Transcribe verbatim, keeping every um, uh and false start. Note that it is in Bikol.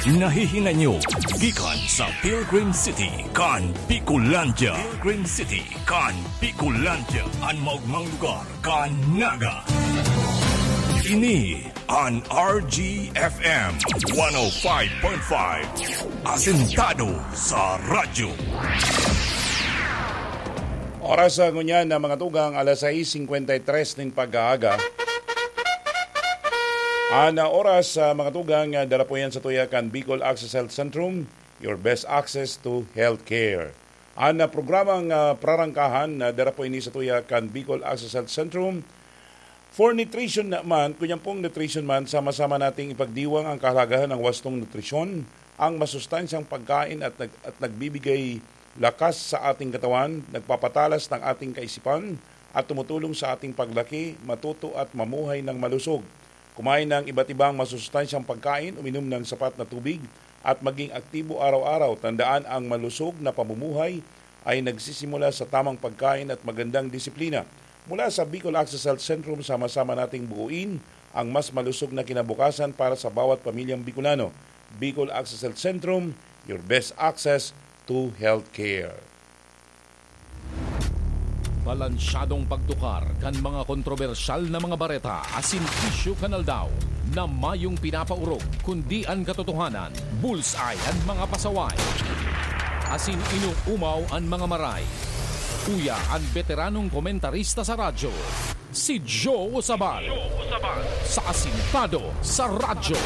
Nahihinanyo gikan sa Pilgrim City kan Bicolandia. Pilgrim City kan Bicolandia, an maogmang lugar kan Naga. Ini an R G F M one oh five point five, asentado sa radyo. Oras sa ngunyan na mga tugang, alas sais singkwenta y tres nin pag-aaga. An, ah, oras sa mga tugang, ah, dara po yan sa tuya kan Bicol Access Health Centrum, your best access to healthcare. An, ah, programang, ah, prarangkahan na dara po ini sa tuya kan Bicol Access Health Centrum. For nutrition naman, kunyang pong nutrition man, sama-sama nating ipagdiwang ang kahalagahan ng wastong nutrisyon, ang masustansyang pagkain at nag-, at nagbibigay lakas sa ating katawan, nagpapatalas ng ating kaisipan, at tumutulong sa ating paglaki, matuto at mamuhay ng malusog. Kumain ng iba't ibang masustansyang pagkain, uminom ng sapat na tubig, at maging aktibo araw-araw. Tandaan, ang malusog na pamumuhay ay nagsisimula sa tamang pagkain at magandang disiplina. Mula sa Bicol Access Health Centrum, sama-sama nating buuin ang mas malusog na kinabukasan para sa bawat pamilyang Bicolano. Bicol Access Health Centrum, your best access to healthcare. Balansyadong pagtukar kan mga kontrobersyal na mga bareta asin isyu kan aldaw na mayong pinapaorog, kundi an katotohanan, bullseye an mga pasaway, asin inuumaw an mga maray. Uya an beteranong komentarista sa radyo, si Joe Sabal, sa Asintado sa Radyo.